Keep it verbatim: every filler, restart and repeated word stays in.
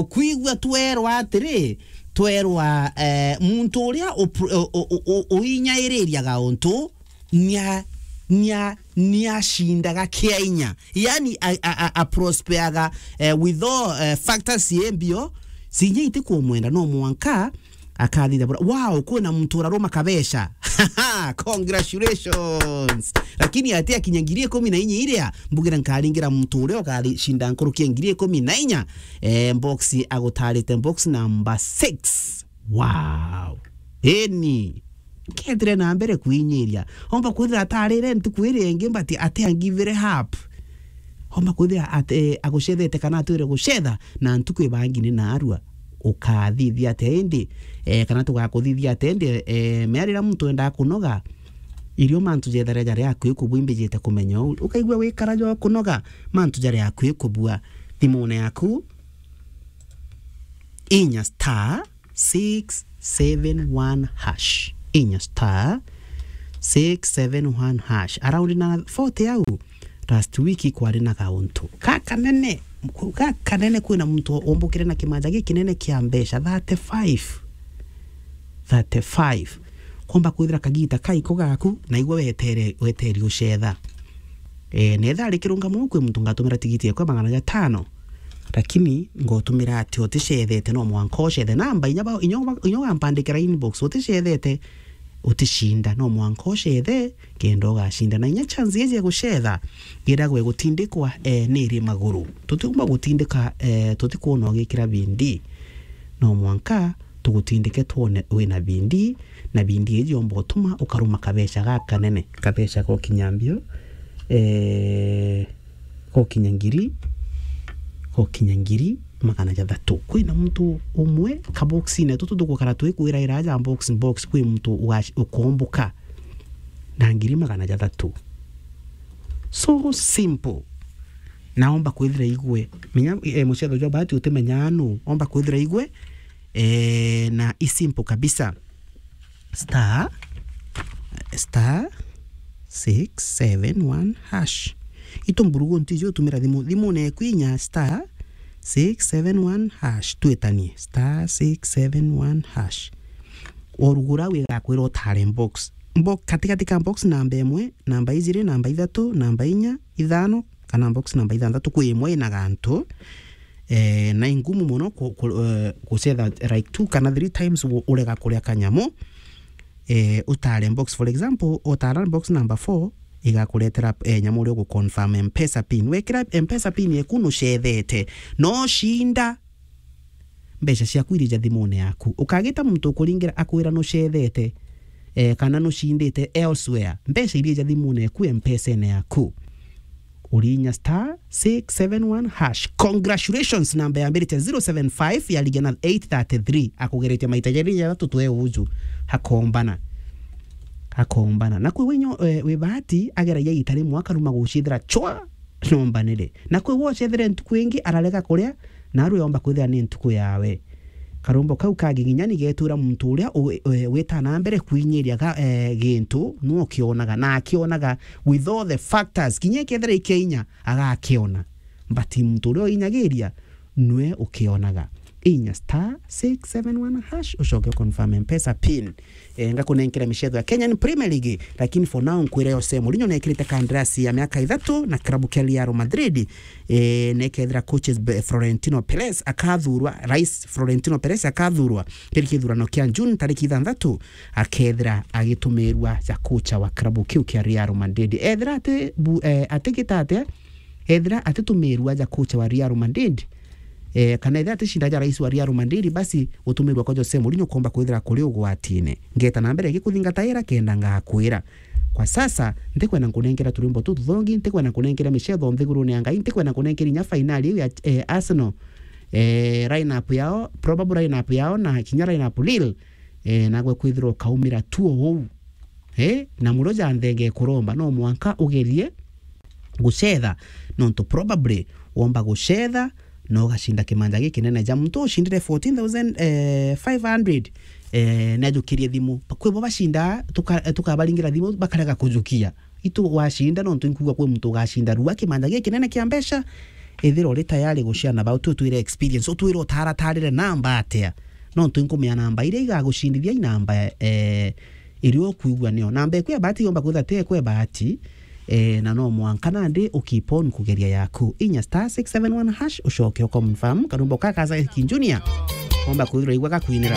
Kwigua twerwa atiri, twerwa, eh, muntu uria upr-, u-, u-, u-, u-, uinyaiririaga untu, nia-, nia-, niacindaga kia inya. Yani, a, a, a, a prospeaga, eh, with all, eh, factors ciimbio, cinya itikumwenda, no mwanka akathitha bura. Wow, kwina muntu uraruma kabeca. Congratulations. Lakini ati akinya ngiri ikumi na inya iria, mbugire nkaringira muntu uria ukacinda nkuruki ya ngiri ikumi na inya, eh, box agutarite box number six. Wow. Eni. Kethire na mbere kwinyiria. Omba kwithira atarire ntuku iria ingi, but atiangivire hap. Omba kwithira ate-, agucethete kana atwire gucetha, na ntuku ibangi ni narua. Ukathithia atia indi, eh, kana tugakuthithia atia indi, eh, mea riria muntu endaa kunoga, irio mantu jethare jari akui kubua imbijite kumenya uu. Ukaigua wikara jo kunoga, mantu jari akui kubua. Thimune yaku, inya star six seven one hash. Inya star six seven one hash. Around na forty au, last week kwari na gauntu gakanene, gakanene, kwina muntu ombukire na kimanja gikinene kia mbeca, thirty-five. Thirty-five. Komba kwithira kagita kaiko gaku, na igwe wetere, weteri ucetha. Eh, netha ari kirungamo kwi muntu ngatumira tigiti yakwa magana jatano, lakini ngotumira ati uticethete, no mwanka ucethe. Namba inya ba, inya ba, inya ugampandikira inbox, uticethete, uticinda, no mwanka ucethe, kenda ugacinda. Na inya chance iji ya gucetha, iragwe gutindikwa, eh, niri maguru. Tutiumba gutindika, eh, tutikwona ugikira bindi. No mwanka tugutindike twone wina bindi, na bindi iji yomba utuma ukaruma kabeca gakanene, kabeca gokinya mbio, eh, gokinya ngiri, gokinya ngiri magana jathatu. Kwina muntu umwe kaboxine tutu tugukara twikwiraira aja box, box, kwi muntu ugac-, ukombuka na ngiri magana jathatu. So simple. Na omba kwithira igwe. Menya, eh, mucetho jwa bahati utimenya nu. Omba kwithira igwe, eh, na i simple kabisa. Star, star six seven one hash. Itu mburugu ntiji utumira thimu. Thimu ne kwinya star six seven one hash. Twitanie. Star six seven one hash. Orugura wigakwira utare box. Box, katikati ka box namba imwe, namba ijiri, namba ithatu, namba inya, ithano, kana box namba ithanthatu, kwi imwe ina gantu. Eh, na ingumu mono ku-, ku-, eh, gucetha like two kana three times u-, urega kuria kanyamu. Eh, utare box, for example, utara box number four, igakuretera, eh, nyamu uria ugu confirm M-Pesa pin. Wekira M-Pesa pin yeku nucethete, no cinda. Mbeca ciaku irija thimune yaku. Ukagita muntu ukuringira akwira nucethete, eh, kana nucindite elsewhere. Mbeca irija thimune yaku, M-Pesa-ine yaku. Urinya star six seven one hash. Congratulations, namba yambirite zero seven five, yarigia na eight thirty-three. Akugeretie maita jeri jathatu twe uju. Hakombana. Hakombana. Na kwi winyo, eh, wi bahati, ageragia ita rimwe akaruma gucithira chwa. Nyombanire. Na kwi wocethire ntuku ingi ararega kuria, na aru yomba kwithira ni ntuku yawe. Karumbo kau ka giginya ni getura muntu uria u-, e, wita na mbere kwinyiria ga-, e, gintu, nu ukionaga, na akionaga with all the factors. Kinya ikethira ikia inya, agakiona. But muntu uria uinyagiria, nwe ukionaga. Inya star six seven one hash, ucoke confirm M-Pesa pin. Eh, ngakunenkera micetho ya Kenyan Premier League, lakini for now nkwire Jose Mourinho nekirite kandarasi ya miaka ithatu na klabu kia Real Madrid. Eh, nekethira coaches be-, Florentino Perez akathurwa, Rais Florentino Perez akathurwa kiri kithurano kia June tariki ithanthatu, akethira agitumirwa ja kocha wa klabu kiu kia Real Madrid. Ethira ati bu-, eh, atigita atia, ethira atitumirwa ja kocha wa Real Madrid, eh, kana ethira aticinda ja rais wa Real Madrid, basi gutumirwa kwa Jose Mourinho komba kwithira kuri ugwatine. Ngeta na mbere gikuthingata ira kenda ngakwira. Kwa sasa, ntikwenda nkunenkera turimbo tu tuthongi, ntikwenda nkunenkera micetho nthigurune ya Ngai, ntikwenda nkunenkera inya fainali iu ya, eh, Arsenal, eh, line-up yao, probable line-up yao, na kinya line-up Lille, eh, nagwe kwithirwa ukaumira tu o uu. Eh, na murio ja nthenge kuromba, no mwanka ugerie gucetha, nontu probably womba gucetha, na ugacinda kimanja gikinene ja muntu ucindire fourteen thousand five hundred, eh, najukirie thimu. Kwibo bacinda, tuka-, tukabaringira thimu, bakarega kujukia. Itu wacinda, nontu inkuga kwi muntu ugacinda rua kimanja gikinene kia mbeca, Ethira uri tayari gushare na bau, tu twire experience, utwire utaratarire namba atia. No tu nkumia namba iria igagucindithia i namba, eh, iria ukwigua nio. Namba eku ya bahati yomba kwithira ti eku ya bahati, eh, na no mwanka nandi u keep on kugeria yaku. Inya star six seven one hash, ucoke u confirm, karumbo ka Kaza King Junior. Omba kwithirwa igua gakwinira.